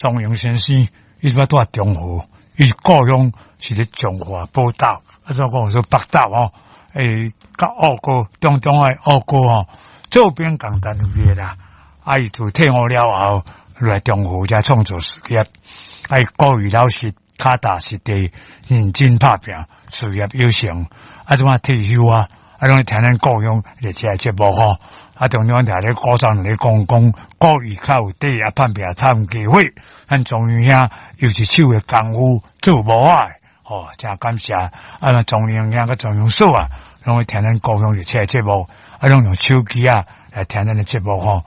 莊榮先生，伊這擺蹛中和，伊故鄉是咧彰化寶島，啊怎講說北斗吼，欸，佮澳哥中中的澳哥吼，做兵仝單位的啦。啊，伊自退伍了後，來中和遮創造事業，啊，伊古語老實，跤踏實地，認真拍拚，事業有成。啊，這擺退休啊，啊，攏咧聽咱故鄉熱車節目吼。啊，中央聽咧古早咧講講，古語較有底啊，拍拚趁機會。咱莊榮兄又一手的功夫做無仔的，吼，誠感謝。啊，咱莊榮兄佮莊榮嫂啊，攏會聽咱故鄉熱車節目，啊，攏用手機啊來聽咱的節目吼。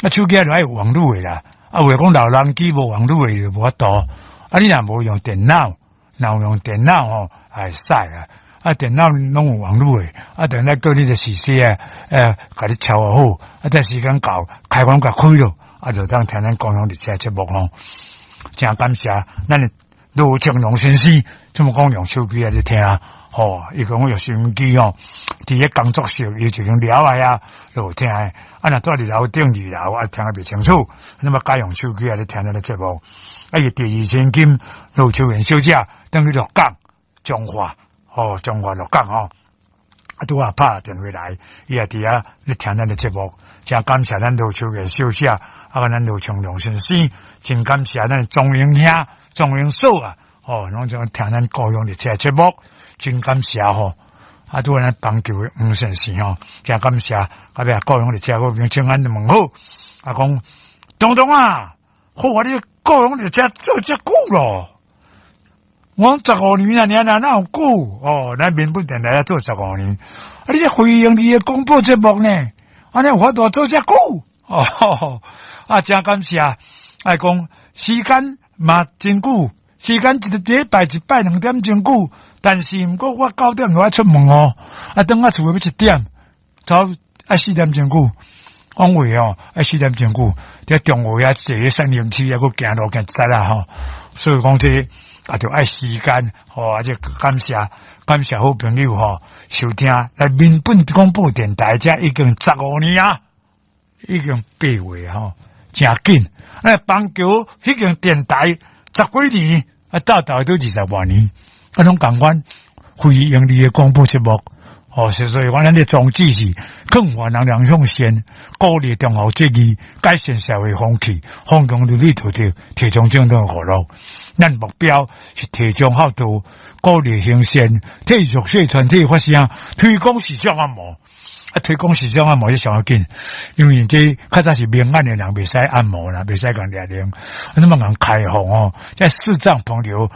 啊，手機啊就愛有網路的啦。啊，有的講老人機無網路的就無法度。啊，你若無用電腦，若有用電腦吼，會使啊。啊，電腦攏有網路的，啊，等下叫你的時勢啊，共你調好，啊，這時間到，開關共開囉，啊，就當聽咱故鄉熱車節目吼。誠感謝咱的盧清龍先生，這麼講用手機來咧聽，吼，伊講用收音機吼，佇咧工作室伊就用了來啊，就有聽的。啊，若蹛佇樓頂二樓啊，聽得袂清楚，那麼改用手機來咧聽咱的節目。啊，伊第二千金盧秋元小姐，轉去鹿港彰化。哦，彰化鹿港吼，啊，拄仔拍電話來，伊也佇遐咧聽咱的節目，誠感謝咱盧秋元小姐，啊，咱盧長龍先生，真感謝咱莊榮兄、莊榮嫂啊，哦，攏總聽咱故鄉熱車節目，真感謝吼。啊，拄仔咱板橋的黃先生吼，誠感謝，啊，尾故鄉熱車我請安問好，啊，講東東啊，好啊，你故鄉熱車做遮久咯。我講十五年啊，爾爾哪有久？哦，咱民本電台做十五年，啊，你這非營利的廣播節目呢？按呢有法度做遮久？哦，啊，誠感謝。愛講時間嘛真久，時間一個禮拜一擺兩點鐘久，但是毋過我九點就愛出門哦，啊，轉來厝欲一點，走愛四點鐘久。講話哦，愛四點鐘久，佇中和遐坐三輪車抑閣行路行塞啦吼，所以講這個啊，著愛時間吼，啊，這感謝感謝好朋友吼，收聽來民本廣播電台，這已經十五年啊，已經八月吼，誠緊。啊，板橋彼間電台十幾年，啊，鬥鬥都二十外年，啊，攏仝款非營利的廣播節目。哦，所以講，咱的宗旨是勸勸人人向善，鼓勵忠孝節義，改善社會風氣，弘揚倫理道德，提倡正當娛樂。咱目標是提倡孝道，鼓勵行善，替弱勢團體發聲，推廣視障按摩。啊，推廣視障按摩是上要緊，因為這較早是明眼的人袂使按摩啦，袂使共掠零，啊，怎麼共開放哦？這視障朋友。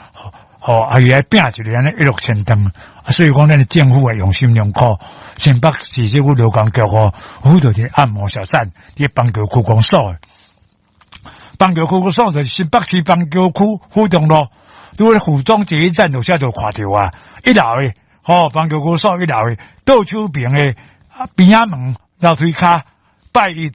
吼，啊，伊愛拼一个按呢一落千丈，啊，所以講咱的政府啊用心良苦，新北市政府勞工局吼，有做一个按摩小站，佇板橋區公所，板橋區公所就是新北市板橋區府中路，拄咧府中捷運站落車就看著啊，一樓的，吼，板橋區所一樓的倒手邊的邊仔門樓梯跤，拜一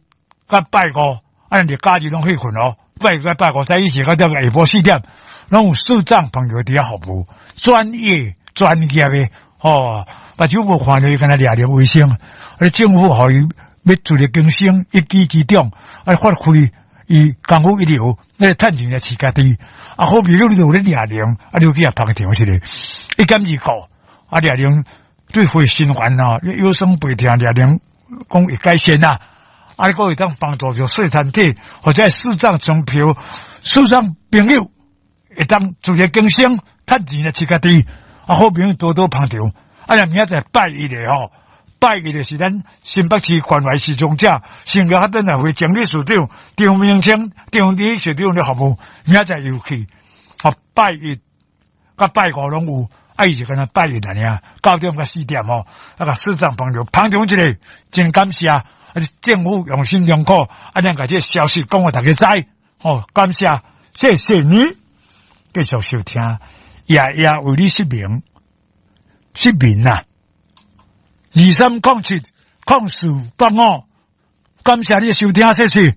佮拜五，啊，日假日攏彼份哦，拜一佮拜五早起時到下晡4點。攏有視障朋友佇遐服務，專業專業的吼，目睭無看著伊敢若掠著衛生，啊，政府予伊欲自力更生，一技之長，啊，發揮伊功夫一流，來趁錢來飼家己。啊，好朋友你有咧掠零，啊，你去遐捧場一个，一兼二顧，啊，掠零對血循環啊，腰酸背痛掠零講會改善啊，啊，閣會當幫助著細團體或者視障朋友、視障朋友。會當自力更生，趁錢來飼家己，啊，好朋友多多捧場。啊，若明仔載拜一的吼，拜一的是咱新北市關懷視障者，新加坡轉來會整理市長張明清、張理市長的服務，明仔載又去，吼，拜一、佮拜五攏有，啊，伊就敢若拜一爾，9點到4點吼，啊，共視障朋友捧場一下，真感謝，啊，政府用心良苦，啊，咱共這个消息講予大家知，吼，感謝，謝謝你。繼續收聽，夜夜為你失眠，失眠啊！23070485，感謝你收聽，謝謝。